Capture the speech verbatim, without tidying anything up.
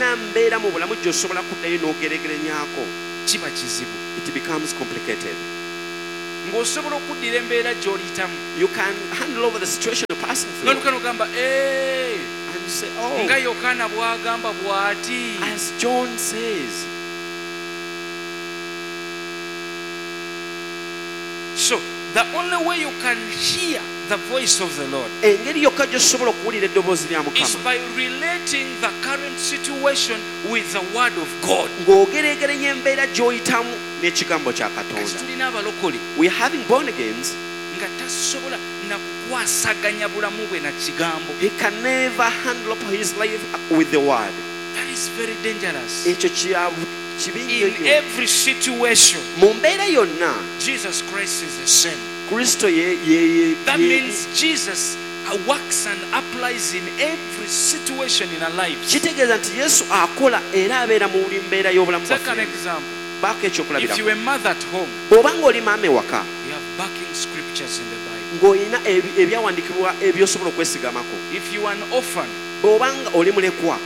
tolina mbeera mu bulamu gy'osobola kuddayo n'ogeregeranyaako, kiba kizibu. It becomes complicated. Ng'osobola okuddira embeera gy'oliyitamu. You can handle over the situation you're passing through. N'oluka n'ogamba, "Eh, And you say, oh, nga Yokaana bw'agamba bw'ati." As John says. So the only way you can hear the voice of the Lord engeri yokka gy'osobola okuwulira eddoboozi lya is Mukama by relating the current situation with the word of God. Ng'ogeregeranya embeera gy'oyitamu n'ekigambo kya Kati Katonda. Tulina abalokole We are having born agains nga tasobola na kukwasaganya bulamu bwe na kigambo. He can never handle up his life with the word. That is very dangerous. Ekyo kya kibi nnyo In nnyo. Every situation, mu mbeera yonna, Jesus Christ is the same. Kristo ye ye ye That ye- means Jesus uh, works and applies in every situation in our lives. Kitegeeza nti Yesu akola era abeera mu buli mbeera y'obulamu Take an bwaffe. example. Baako If ekyokulabirako. you were a mother at home, bw'oba ng'oli maama ewaka, you have backing scriptures in the Bible. Ng'olina ebi- ebyawandiikibwa ebyosobola okwesigamako. If you are an orphan, bw'oba nga oli mulekwa,